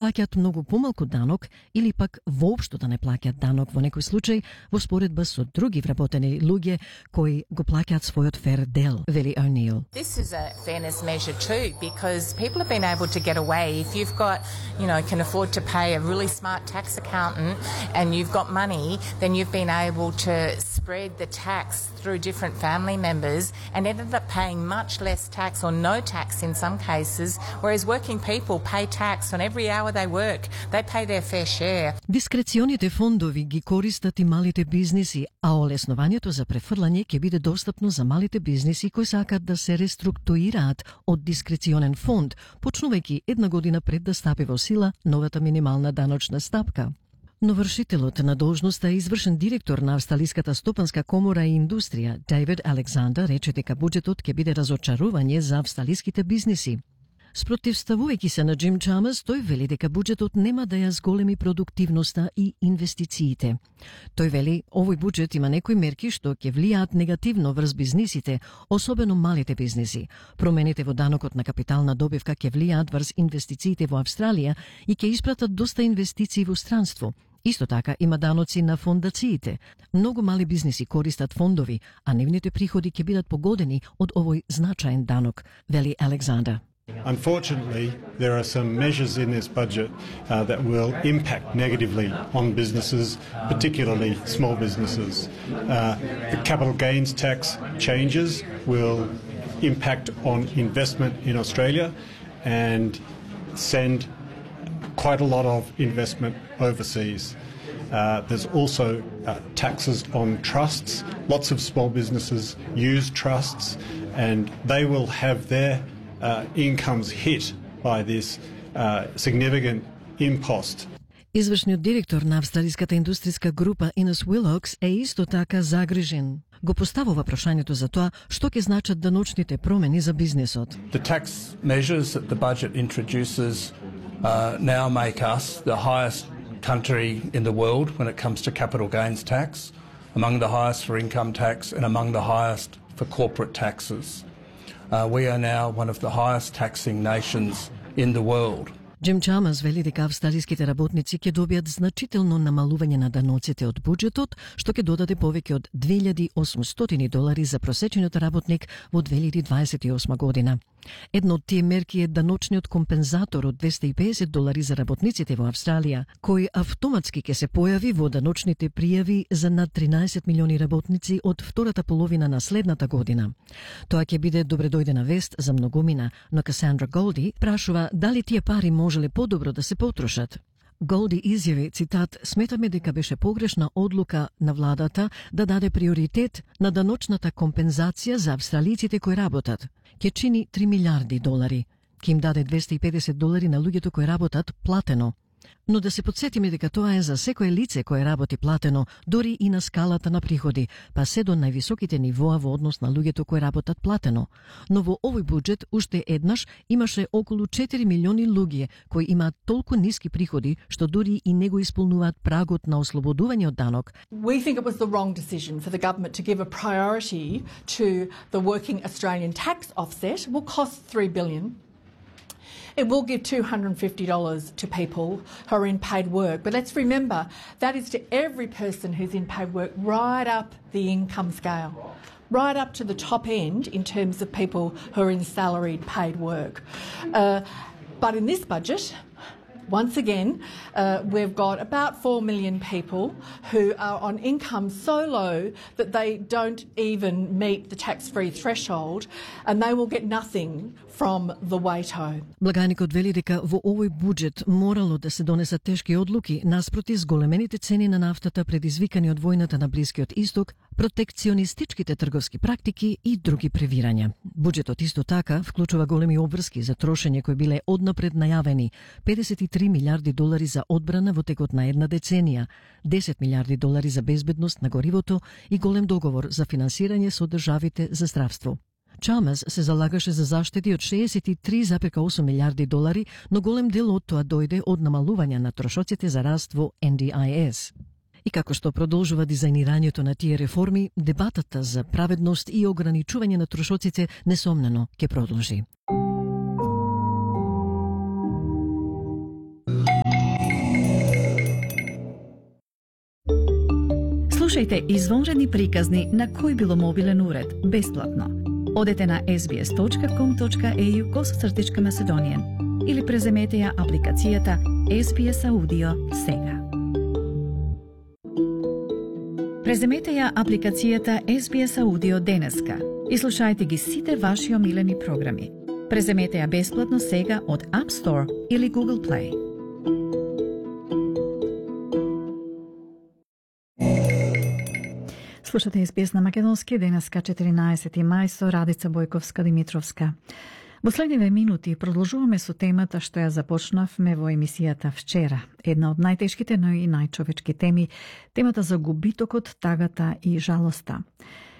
плаќаат многу помалку данок или пак воопшто да не плаќаат данок во некој случај во споредба со други вработени луѓе кои го плаќаат својот фер дел, вели O'Neill. This is a fairness measure too, because people have been able to get away. If you've got, can afford to pay a really smart tax accountant and you've got money, then you've been able to spread the tax through different family members and ended up paying much less tax or no tax in some cases, whereas working people pay tax on every hour they work. They pay their fair share. Дискреционите фондови ги користат и малите бизниси, а олеснувањето за префрлање ќе биде достапно за малите бизниси кои сакаат да се реструктурираат од дискреционен фонд, почнувајќи една година пред да стапи во сила новата минимална даночна стапка. Но вршителот на должноста е извршен директор на Австралиската стопанска комора и индустрија, Дейвид Александер, рече дека буџетот ќе биде разочарување за австралиските бизниси. Спротивставувајќи се на Джим Чамерс, тој вели дека буџетот нема да ја зголеми продуктивноста и инвестициите. Тој вели, овој буџет има некои мерки што ќе влијаат негативно врз бизнисите, особено малите бизниси. Промените во данокот на капитална добивка ќе влијаат врз инвестициите во Австралија и ќе испратат доста инвестиции во странство. Исто така има даноци на фондациите. Многу мали бизниси користат фондови, а нивните приходи ќе бидат погодени од овој значаен данок, вели Александер. Unfortunately, there are some measures in this budget that will impact negatively on businesses, particularly small businesses. The capital gains tax changes will impact on investment in Australia and send quite a lot of investment overseas. There's also taxes on trusts. Lots of small businesses use trusts and they will have their incomes hit by this significant impost. Извршниот директор на австралиската индустријска група Innes Willox е исто така загрижен. Го поставува прашањето за тоа што ќе значат даночните промени за бизнисот. The tax measures that the budget introduces now make us the highest country in the world when it comes to capital gains tax, among the highest for income tax and among the highest for corporate taxes. We are now one of the highest taxing nations in the world. Джим Чамерс вели дека австралиските работници ќе добијат значително намалување на даноците од буџетот, што ќе додаде повеќе од $2,800 за просечниот работник во 2028 година. Едно од тие мерки е даночниот компензатор од $250 за работниците во Австралија, кој автоматски ќе се појави во даночните пријави за над 13 милиони работници од втората половина на следната година. Тоа ќе биде добредојдена вест за многумина, но Касандра Голди прашува дали тие пари можеле подобро да се потрошат. Голди изјави, цитат, сметаме дека беше погрешна одлука на владата да даде приоритет на даночната компензација за австралиците кои работат. Ке чини $3 милиарди. Ке им даде $250 на луѓето кои работат платено. Но да се подсетиме дека тоа е за секое лице кое работи платено, дори и на скалата на приходи, па се до највисоките нивоа во однос на луѓето кои работат платено. Но во овој буџет уште еднаш имаше околу 4 милиони луѓе кои имаат толку ниски приходи што дури и не го исполнуваат прагот на ослободување од данок. We think it was the wrong decision for the government to give a priority to the working Australian tax offset. It will cost $3 billion. It will give $250 to people who are in paid work. But let's remember, that is to every person who's in paid work right up the income scale, right up to the top end in terms of people who are in salaried paid work. But in this budget, once again, we've got about 4 million people who are on income so low that they don't even meet the tax-free threshold, and they will get nothing from the WATO. Благаникот вели дека во овој буџет морало да се донесат тешки одлуки наспроти зголемените цени на нафтата предизвикани од војната на Блискиот Исток, протекционистичките трговски практики и други превирања. Буџетот исто така вклучува големи обврски за трошење кои биле однапред најавени, $53 милиарди за одбрана во текот на една деценија, $10 милиарди за безбедност на горивото и голем договор за финансирање со државите за здравство. Чамерс се залагаше за заштеди од $63,8 милиарди, но голем дел од тоа дојде од намалување на трошоците за раст во NDIS. И како што продолжува дизајнирањето на тие реформи, дебатата за праведност и ограничување на трошоците несомнено ќе продолжи. Слушајте извонредни приказни на кој било мобилен уред, бесплатно. Одете на sbs.com.au/Macedonian или преземете ја апликацијата SBS Audio сега. Преземете ја апликацијата SBS Audio денеска и слушајте ги сите ваши омилени програми. Преземете ја бесплатно сега од App Store или Google Play. Слушате SBS на македонски, денеска 14 мај со Радица Бојковска-Димитровска. Во следниве минути продолжуваме со темата што ја започнавме во емисијата вчера. Една од најтешките, но и најчовечки теми, темата за губитокот, тагата и жалоста.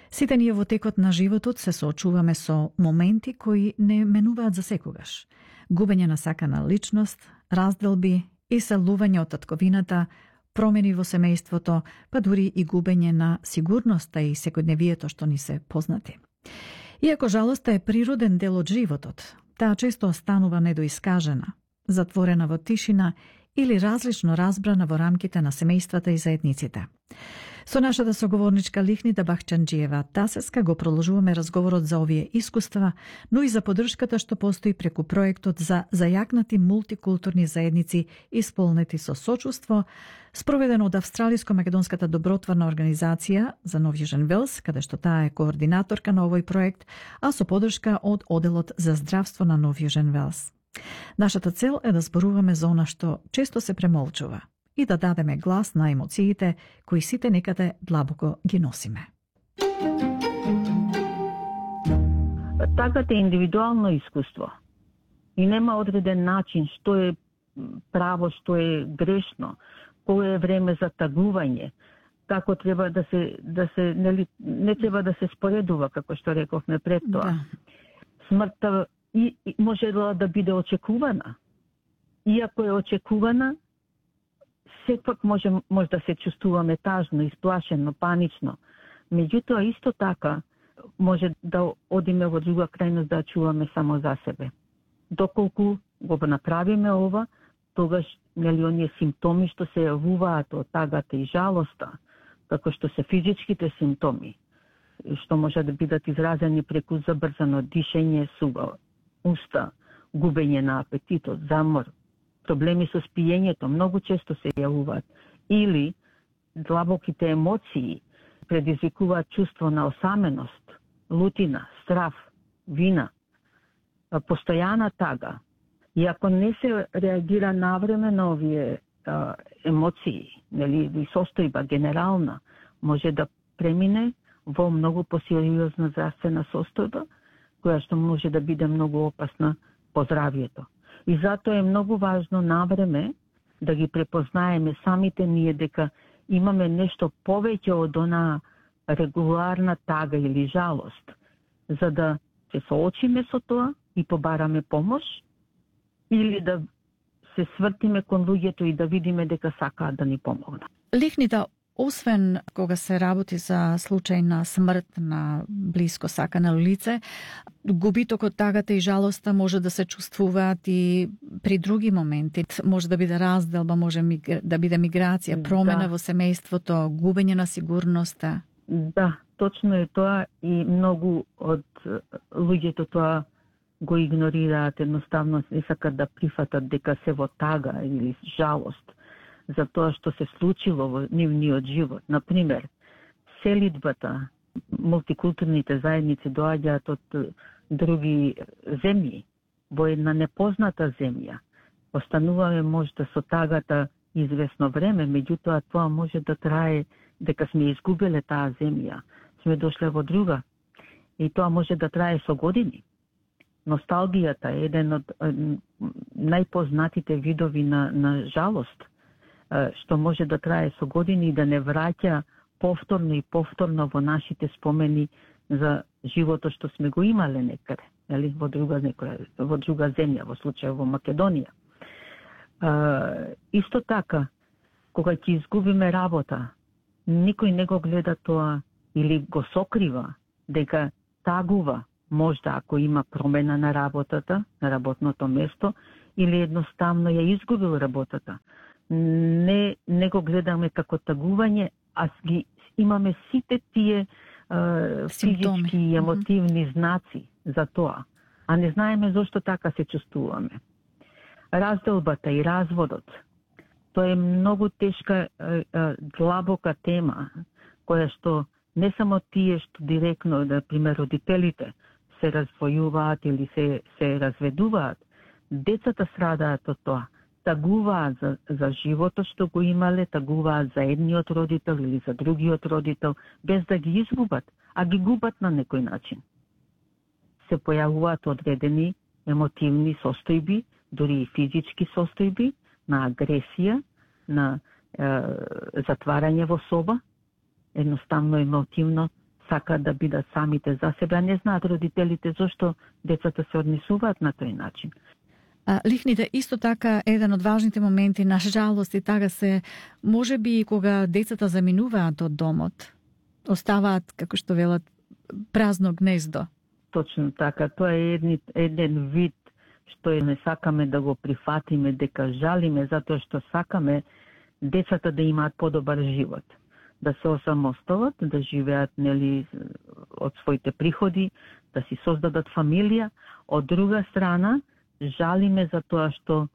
Сите ние во текот на животот се соочуваме со моменти кои не менуваат за секогаш. Губење на сакана личност, разделби, иселување од татковината, промени во семејството, па дури и губење на сигурноста и секојдневието што ни се познати. Иако жалоста е природен дел од животот, таа често останува недоискажена, затворена во тишина или различно разбрана во рамките на семејствата и заедниците. Со нашата соговорничка Лихнида Бахчанџиева Тасеска го продолжуваме разговорот за овие искуства, но и за поддршката што постои преку проектот за зајакнати мултикултурни заедници исполнети со сочувство, спроведено од Австралиско-македонската добротворна организација за Нов Јужен Велс, каде што таа е координаторка на овој проект, а со поддршка од Оделот за здравство на Нов Јужен Велс. Нашата цел е да зборуваме за она што често се премолчува и да дадеме глас на емоциите кои сите некаде длабоко ги носиме. Тагата е индивидуално искуство и нема одреден начин што е право, што е грешно, кој е време за тагување, како треба да се нели, не треба да се споредува, како што рековме пред тоа. Да. Смртта и може да биде очекувана. Иако е очекувана, секвак може да се чувствуваме тажно, исплашено, панично. Меѓутоа, исто така, може да одиме во друга крајност да чуваме само за себе. Доколку го направиме ова, тогаш нели оние симптоми што се јавуваат од тагата и жалоста, како што се физичките симптоми, што може да бидат изразени преку забрзано дишење, сува уста, губење на апетитот, замор, проблеми со спиењето многу често се јавуваат, или длабоките емоции предизвикуваат чувство на осаменост, лутина, страф, вина, постојана тага. И ако не се реагира навреме на овие емоции, нели, и состојба генерална, може да премине во многу посериозна здравствена состојба, која што може да биде многу опасна по здравјето. И затоа е многу важно навреме да ги препознаеме самите ние дека имаме нешто повеќе од она регуларна тага или жалост, за да се соочиме со тоа и побараме помош, или да се свртиме кон луѓето и да видиме дека сакаат да ни помогнат. Лихнида, освен кога се работи за случај на смрт на блиско сакано лице, губитокот, тагата и жалоста може да се чувствуваат и при други моменти. Може да биде разделба, може да биде миграција, промена во семејството, губење на сигурноста. Да, точно е тоа и многу од луѓето тоа го игнорираат, едноставно не сакат да прифатат дека се во тага или жалост за тоа што се случило во нивниот живот. Например, селидбата, мултикултурните заедници доаѓаат од други земји, во една непозната земја. Остануваме можда со тагата известно време, меѓутоа тоа може да трае дека сме изгубиле таа земја, сме дошле во друга. И тоа може да трае со години. Носталгијата е еден од најпознатите видови на жалост, што може да трае со години и да не враќа повторно и повторно во нашите спомени за животот што сме го имале некаде, нели, во друга земја, во случај во Македонија. Исто така, кога ќе изгубиме работа, никој не го гледа тоа или го сокрива дека тагува можда ако има промена на работата, на работното место, или едноставно ја изгубил работата. Не го гледаме како тагување, а ги имаме сите тие физички и емотивни знаци за тоа, а не знаеме зошто така се чувствуваме. Разделбата и разводот, тоа е многу тешка, длабока тема, која што не само тие што директно, например, родителите се развојуваат или се разведуваат, децата страдаат од тоа. Тагуваат за животот што го имале, тагуваат за едниот родител или за другиот родител, без да ги изгубат, а ги губат на некој начин. Се појавуваат одредени емотивни состојби, дури и физички состојби, на агресија, на затварање во соба, едноставно емотивно сакаат да бидат самите за себе, а не знаат родителите зошто децата се однесуваат на тој начин. Лихните исто така еден од важните моменти, на жалост и така се, може би кога децата заминуваат од домот, оставаат, како што велат, празно гнездо. Точно така, тоа е еден вид што не сакаме да го прифатиме, дека жалиме, затоа што сакаме децата да имаат подобар живот, да се осамосталат, да живеат од своите приходи, да си создадат фамилија. Од друга страна, жалиме за тоа што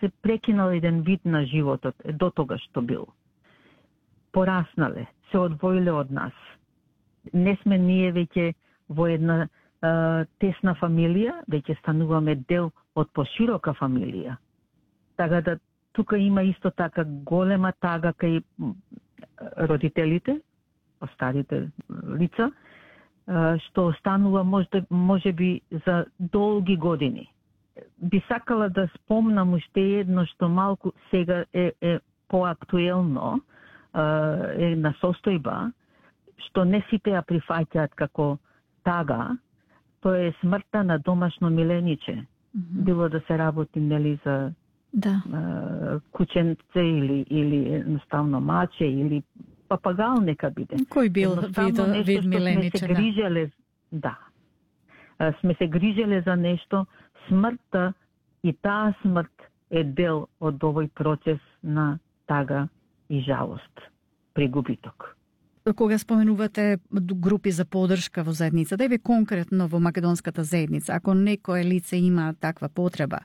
се прекинал еден вид на животот, до тога што бил. Пораснале, се одвоиле од нас. Не сме ние веќе во една тесна фамилија, веќе стануваме дел од поширока фамилија. Така да тука има исто така голема тага кај родителите, старите лица, што останува може би за долги години. Би сакала да спомнам уште едно што малку сега е поактуелно, една состојба, што не сите ја прифаќаат како тага, тоа е смртта на домашно милениче. Било да се работи за кученце или едноставно маче или папагал нека биде. Кој бил вид милениче? Сме се грижеле за нешто, смртта и таа смрт е дел од овој процес на тага и жалост, прегубиток. Кога споменувате групи за поддршка во заедница, да е конкретно во македонската заедница, ако некое лице има таква потреба,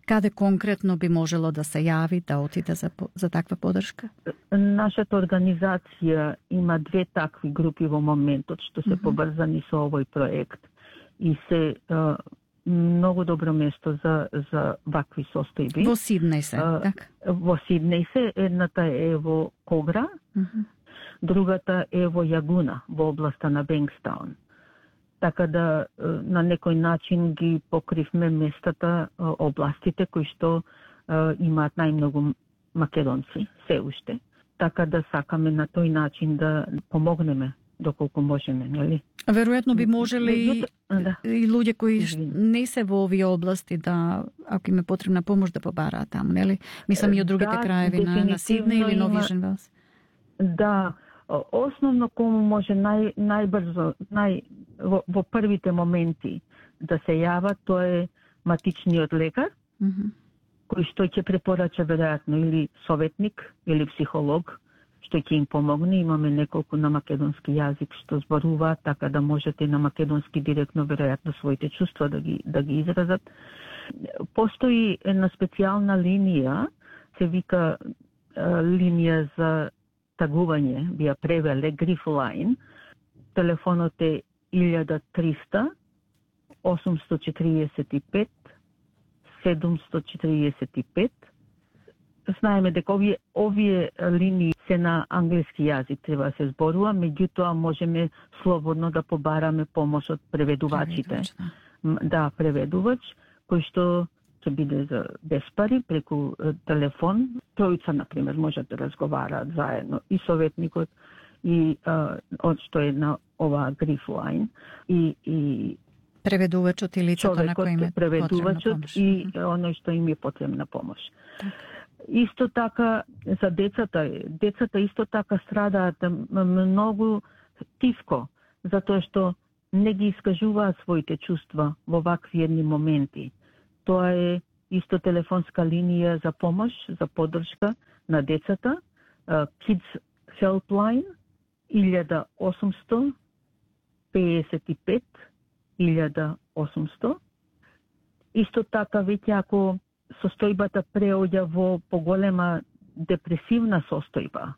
каде конкретно би можело да се јави, да отиде за таква поддршка? Нашата организација има 2 такви групи во моментот што се поврзани со овој проект и се многу добро место за вакви состојби. Во Сиднеј се, така? Во Сиднеј се, едната е во Когра, другата е во Јагуна, во областа на Бенкстаун. Така да на некој начин ги покривме местата, областите кои што имаат најмногу македонци, се уште. Така да сакаме на тој начин да помогнеме доколку можеме, нели? Веројатно би можеле и луѓе кои не се во овие области да, ако им е потребна помош, да побараат таму, нели? Мислам и од другите краеви на Сиднеј или Нови Женвелс. Да, основно кому може најбрзо, во првите моменти да се јава, тоа е матичниот лекар, кој што ќе препорача веројатно или советник или психолог, што ќе им помогне. Имаме неколку на македонски јазик што зборуваат, така да можете на македонски директно веројатно своите чувства да ги изразат. Постои една специјална линија, се вика линија за тагување, би ја превеле Grief Line. Телефонот е 1300 845 745. Знаеме дека овие линии се на англиски јазик, треба да се зборува, меѓутоа можеме слободно да побараме помош од преведувачите. Да, преведувач, кој што ќе биде за без пари, преку телефон. Тројца, например, можат да разговараат заедно, и советникот, и што е на ова Grief Line, и преведувачот и лицето на кој им е преведувачот помош. И оној што им е потребна помош. Исто така за децата исто така страдаат многу тивко, затоа што не ги искажуваат своите чувства во вакви едни моменти. Тоа е исто телефонска линија за помош, за поддршка на децата, Kids Helpline, 1.855.800. Исто така, веќе ако состојбата преоѓа во поголема депресивна состојба,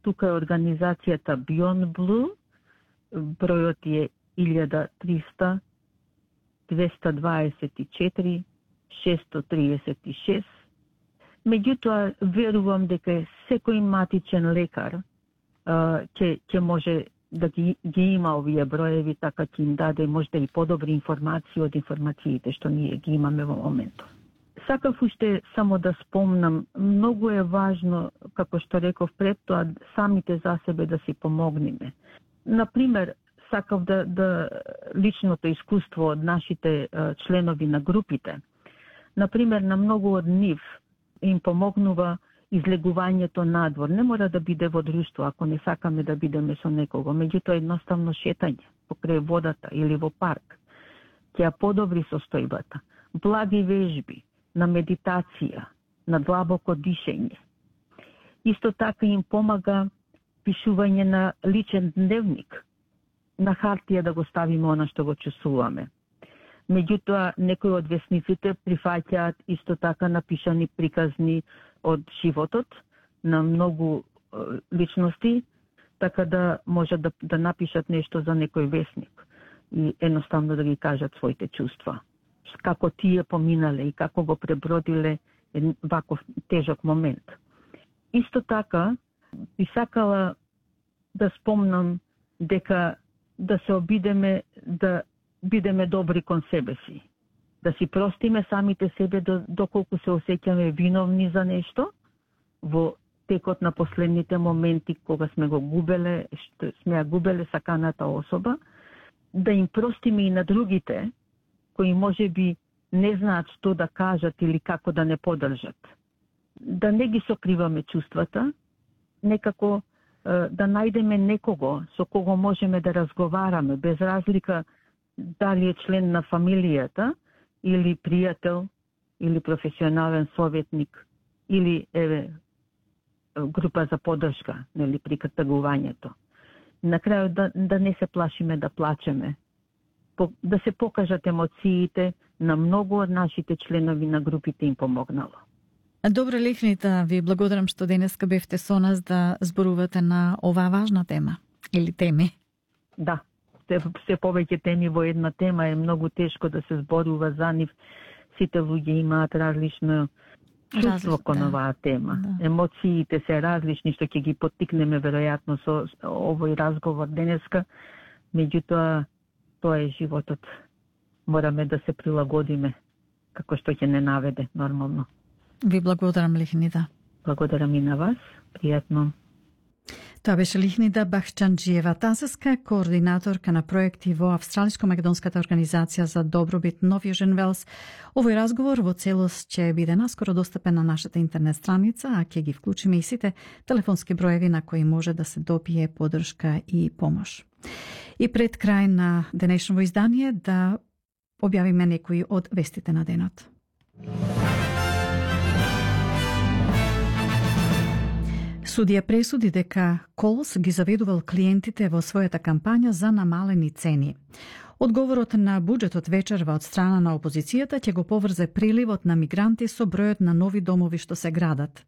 тука е организацијата Beyond Blue, бројот е 1300-224-636. Меѓутоа, верувам дека секој матичен лекар ќе може да ги има овие броеви, така ќе им даде можда и подобри информации од информациите што ние ги имаме во моментот. Сакав уште само да спомнам, многу е важно, како што реков пред тоа, самите за себе да си помогнеме. Например, сакав да личното искуство од нашите членови на групите. Например, на многу од нив им помогнува излегувањето надвор. Не мора да биде во друштво, ако не сакаме да бидеме со некого. Меѓутоа, едноставно шетање покрај водата или во парк ќе ја подобри состојбата. Благи вежби на медитација, на длабоко дишење. Исто така им помага пишување на личен дневник, на хартија да го ставиме она што го чувствуваме. Меѓутоа, некои од весниците прифаќаат исто така напишани приказни од животот на многу личности, така да можат да напишат нешто за некој весник и едноставно да ги кажат своите чувства. Како тие поминале и како го пребродиле ваков тежок момент. Исто така, би сакала да спомнам дека да се обидеме да бидеме добри кон себе си. Да си простиме самите себе доколку се осеќаме виновни за нешто во текот на последните моменти кога сме го губеле, што сме ја губеле саканата особа, да им простиме и на другите кои можеби не знаат што да кажат или како да не подржат. Да не ги сокриваме чувствата, некако да најдеме некого со кого можеме да разговараме, без разлика дали е член на фамилијата, или пријател, или професионален советник, или група за поддршка, нели, при катагувањето. На крајот да не се плашиме да плачеме, да се покажат емоциите, на многу од нашите членови на групите им помогнало. Добре, Лихнита, ви благодарам што денеска бевте со нас да зборувате на оваа важна тема или теми. Да, се повеќе теми во една тема е многу тешко да се зборува за нив. Сите луѓе имаат различно чувство кон оваа тема. Да. Емоциите се различни, што ќе ги поттикнеме веројатно со овој разговор денеска. Меѓутоа, тоа е животот. Мораме да се прилагодиме како што ќе не наведе нормално. Ви благодарам, Лихнита. Благодарам и на вас. Пријатно. Тоа беше Лихнита Бахчанџиева Тазеска, координаторка на проекти во Австралиско-македонската организација за добробит Нов Јужен Велс. Овој разговор во целост ќе биде наскоро достапен на нашата интернет страница, а ќе ги вклучиме и сите телефонски броеви на кои може да се добие поддршка и помош. И пред крај на денешново издание да објавиме некои од вестите на денот. Судија пресуди дека Колс ги заведувал клиентите во својата кампања за намалени цени. Одговорот на буџетот вечерва од страна на опозицијата ќе го поврзе приливот на мигранти со бројот на нови домови што се градат.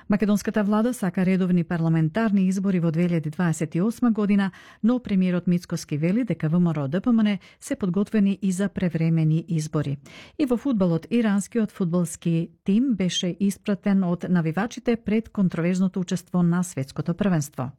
Македонската влада сака редовни парламентарни избори во 2028 година, но премиерот Мицкоски вели дека ВМРО-ДПМН се подготвени и за превремени избори. И во фудбалот, иранскиот фудбалски тим беше испратен од навивачите пред контроверзното учество на светското првенство.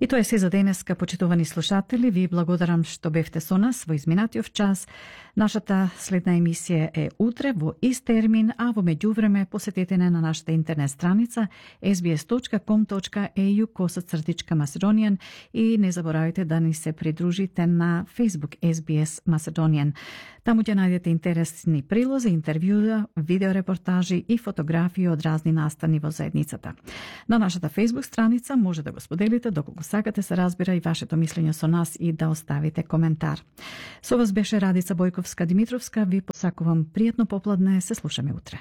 И тоа е се за денеска, почитувани слушатели. Ви благодарам што бевте со нас во изминатиот час. Нашата следна емисија е утре во ист термин, а во меѓувреме посетете на нашата интернет страница sbs.com.au/Macedonian и не заборавајте да ни се придружите на Facebook SBS Macedonian. Таму ќе најдете интересни прилози, интервјуа, видеорепортажи и фотографии од разни настани во заедницата. На нашата Facebook страница може да го споделите доколку сакате, се разбира и вашето мислење со нас и да оставите коментар. Со вас беше Радица Бојковска-Димитровска, ви посакувам пријатно попладне, се слушаме утре.